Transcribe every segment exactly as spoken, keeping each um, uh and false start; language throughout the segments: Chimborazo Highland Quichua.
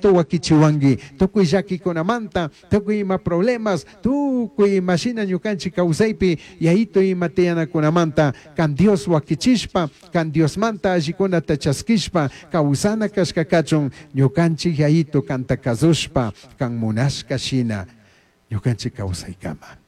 Yayitu wakichiwanki tukuy llakikunamanta, tukuy ima problemas, tukuy imashina ñukanchik kawsaypi yayitu ima tiyanakunamanta kan Dios wakichishpa, kan Diosmanta allikunata chaskishpa kawsana kashka kachun ñukanchik yayitu kanta kasushpa kan munashka shina ñukanchik kawsaykama.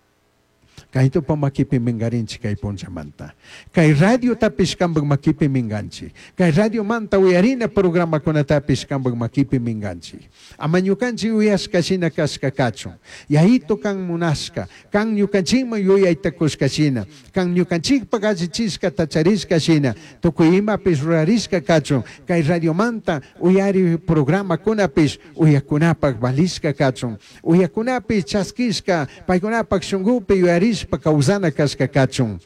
Kaytupa makipi mingarinchik kay punchamanta. Kay radiotapish kanpak makipi minganchik. Kay radiomanta uyarina programakunatapish kanpak makipi minganchik. Ama ñukanchik uyashka shina kashka kachun. Yayitu kan munashka, kan ñukanchikman yuyayta kushka shina, kan ñukanchikpak allichishka tacharishka shina, tukuy imapish rurarishka kachun, kay radiomanta uyari programakunapish uyakunapak valishka kachun. Uyakunapish chaskishka, paykunapak shunkupi yuyarishpa kawsana kashka kachun.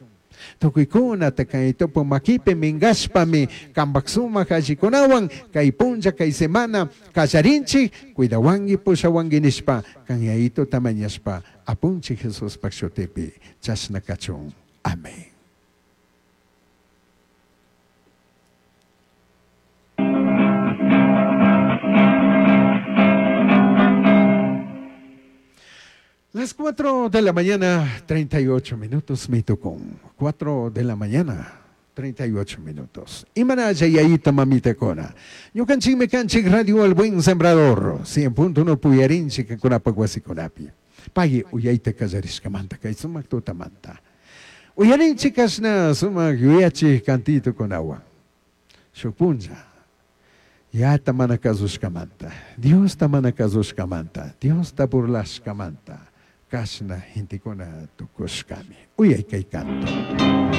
Tukuykunata kay tupu makipi minkashpami kanpak sumak allikunawan kay punlla kay semana kallarinchik cuidawanki pushawanki nishpa kan yayituta mañashpa apunchik Jesuspak shutipi chashna kachun. Amén. Las cuatro de la mañana, treinta y ocho minutos, me tocó. cuatro de la mañana, treinta y ocho minutos. Imana yayita mamita cona. Ñukanchik mekanchik radio El Buen Sembrador. cien punto uno puyarinchik kunapa wasikunapi. Payi uyayta kallarishkamanta kay sumak tutamanta. Uyarinchik kashna sumak yuyachik kantito kunawan. Shuk punlla. Yata mana kasushkamanta. Diosta mana kasushkamanta. Diosta burlashkamanta. Kashna gentekuna tukushkami. Uyay kay canto.